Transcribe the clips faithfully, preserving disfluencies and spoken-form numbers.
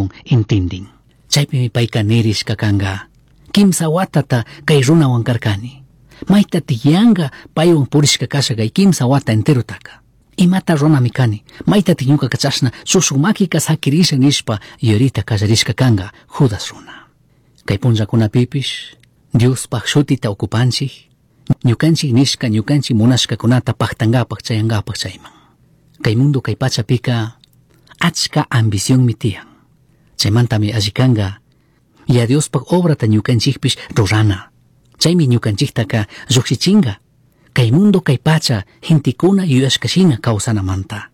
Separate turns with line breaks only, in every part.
tukun intindin. Chaypimi payka nirishka kanka. Kimsa watata kay runawan karkani. Maytatik yanka paywan purishka kasha kay kimsa wata enterotaka. Imata runami kani, maytatik ñukaka chashna shushuk makika sakirisha nishpa yuyarita kallarishka kanka Judas runa. Kay punllakunapipish Diospaj shutita ocupanchik, ñukanchik nishka ñukanchik munashkakunata paktankapak chayankapak chayman. Kay mundo kay pachapika achka ambicionmi tiyan. Chaymantami alli kanka ya Diospaj obrata ñukanchikpish rurana. Chaymi ñukanchiktaka llukshichinka. Kay mundo kay pacha gentekuna yuyashka shina kawsanamanta.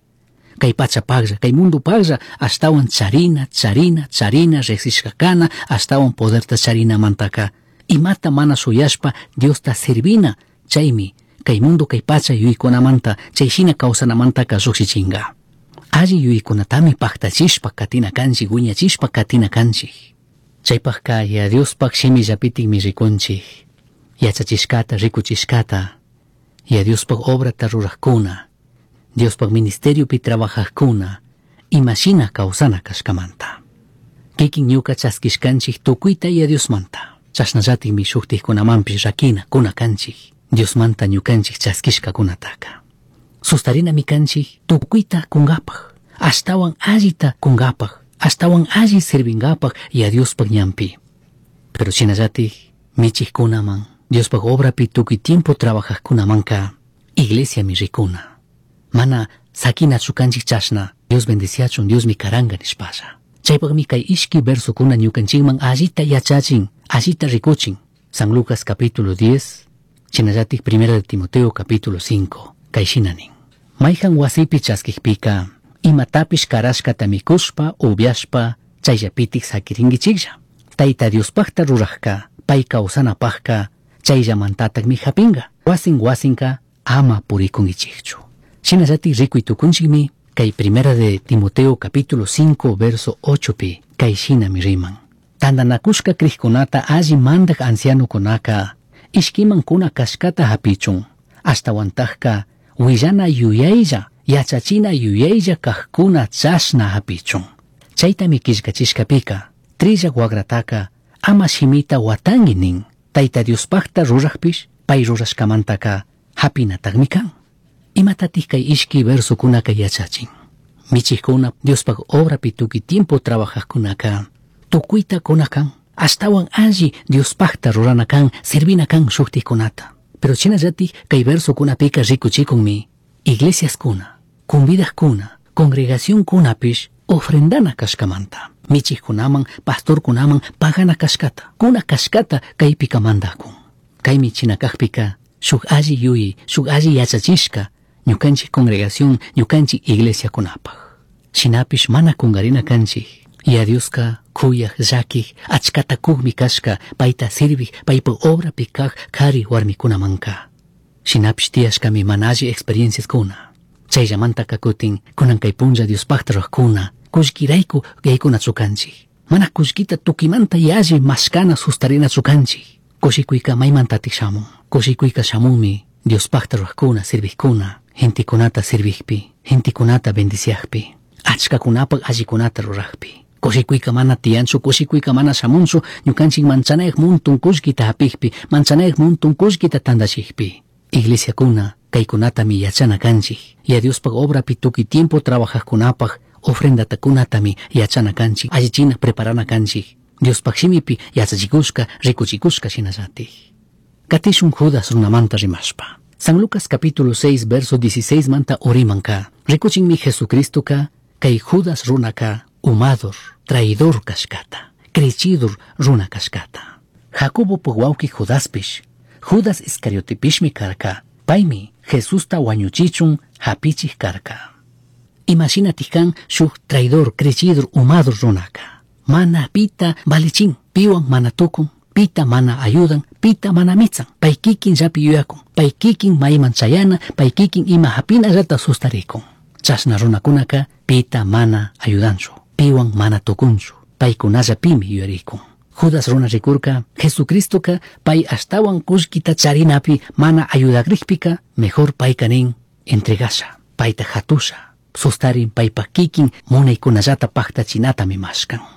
Kay pacha paglla, kay mundo paglla ashtawan charina, charina, charina riqsishka kana, ashtawan poderta charinamantaka. Imata mana shuyashpa Diosta servina, chaymi kay mundo kay pacha yuyaykunamanta chay shina kawsanamantaka llukshichinka. Alli yuyaykunatami paktachishpa katina kanchik, wiñachishpa katina kanchik. Chaypajka ya Diospaj shimillapitikmi rikunchik. Yachachishkata, rikuchishkata, ya Diospaj obrata rurajkuna, Diospaj ministeriopi trabajajkuna, imashina kawsana kashkamanta. Kikin ñuka chaskishkanchik tukuyta ya Diosmanta. Chashnallatikmi shuktikkunamanpish rakina kuna kanchik, Diosmanta ñukanchik chaskishkakunataka. Sustarinami kanchik tukuyta kunkapaj, ashtawan allita kunkapaj, ashtawan alli servinkapak ya Diospaj ñanpi. Pero shinallatik michikkunaman, Diospaj obrapi tukuy tiempo trabajajkunamanka iglesiami rikuna. Mana sakinachu kanchik chashna, Dios bendiciachun, Diosmi karanka nishpalla. Chaypakmi kay ishki versokuna ñukanchikman allita yachachin, allita rikuchin. San Lucas capítulo diez, shinallatik primera de Timoteo capítulo cinco, kay shina nin. Mayhan wasipi chaskikpika, imatapish karashkata mikushpa, upiashpa, chayllapitik sakirinkichiklla. Tayta Diospajta rurajka, pay kawsanapajka, chayllamantatakmi hapinka. Wasin wasinka ama purikunkichikchu. Shinallatik rikuy tukunchikmi, kay primera de Timoteo capítulo cinco verso ocho pi, kay shinami riman. Tantanakushka krikkunata alli mandak ancianokunaka, ishkiman kuna kashkata hapichun, ashtawantajka willana yuyaylla, yachachina yuyaylla kajkuna chashna hapichun. Chaytami killkachishkapika, trillak wagrataka ama shimita watanki nin, Tayta Diospajta rurajpish, pay rurashkamantaka hapinatakmi kan. Imatatik kay ishki versokunaka yachachin. Michikuna Diospaj obrapi tukuy tiempo trabajajkunaka, tukuyta kuna kan, ashtawan alli Diospajta rurana kan, servina kan shuktikkunata. Pero shinallatik kay versokunapika rikuchikunmi, iglesiaskuna, convidajkuna, congregacionkunapish ofrendana kashkamanta. Michikkunaman, pastorkunaman pagana kashkata, kuna kashkata kaypika mandakun. Kaymi chinakajpika, shuk alli yuyay, shuk alli yachachishka, ñukanchik congregación, ñukanchik iglesiakunapaj. Shinapish mana kungarina kanchik. Ya Dioska kuyaj, llakij, achkata kujmi kashka, payta sirvij, paypa obrapi kaj kari warmikunamanka. Shinapish tiyashkami mana alli experienciaskuna. Chayllamantaka kutin, kunan kay punlla Diospajta rurajkuna, kullkirayku yaykunachu kanchik. Mana kullkita tukimanta yalli mashkana sustarinachu kanchik. Kushikuyka maymantatik shamun. Kushikuyka shamunmi Diospajta rurajkuna, sirvijkuna, gentekunata sirvijpi, gentekunata bendiciajpi, achkakunapaj allikunata rurajpi. Kushikuyka mana tiyanchu, kushikuyka mana shamunchu, ñukanchik manchanayaj muntun kullkita hapijpi, manchanayaj muntun kullkita tantachijpi. Iglesiakuna, kaykunatami yachana kanchik. Ya Diospaj obrapi tukuy tiempo trabajajkunapaj ofrendatakunatami yachana kanchik, allichina preparana kanchik. Diospaj shimipi yachachikushka, rikuchikushka shinallatik. Katishun Judas runamanta rimashpa. San Lucas capítulo seis verso dieciséis manta urimanka. Rikuchinmi Jesucristoka kay Judas runaka umador, traidor kashkata, crechidor runa kashkata. Jacobo wawki Judaspish, Judas Iscariotepishmi karka, paymi Jesusta wañuchichun hapichik karka. Imashinatik kan shuk traidor, crechidor, umador runaka. Mana pita valichin, piwan mana tukun, pita mana ayudan, pita mana mitsan. Pay kikin llapi yuyakun, pay kikin mayman chayana, pay kikin ima hapinallata sustarikun. Chashna runakunaka pita mana ayudanchu, piwan mana tukunchu, paykunallapimi yuyarikun. Judas runa rikurka, Jesucristoka pay ashtawan kullkita charinapi mana ayudakrikpika, mejor payka nin entregasha, payta hatusha, sustarin paypa kikin munaykunallata paktachinatami mashkan.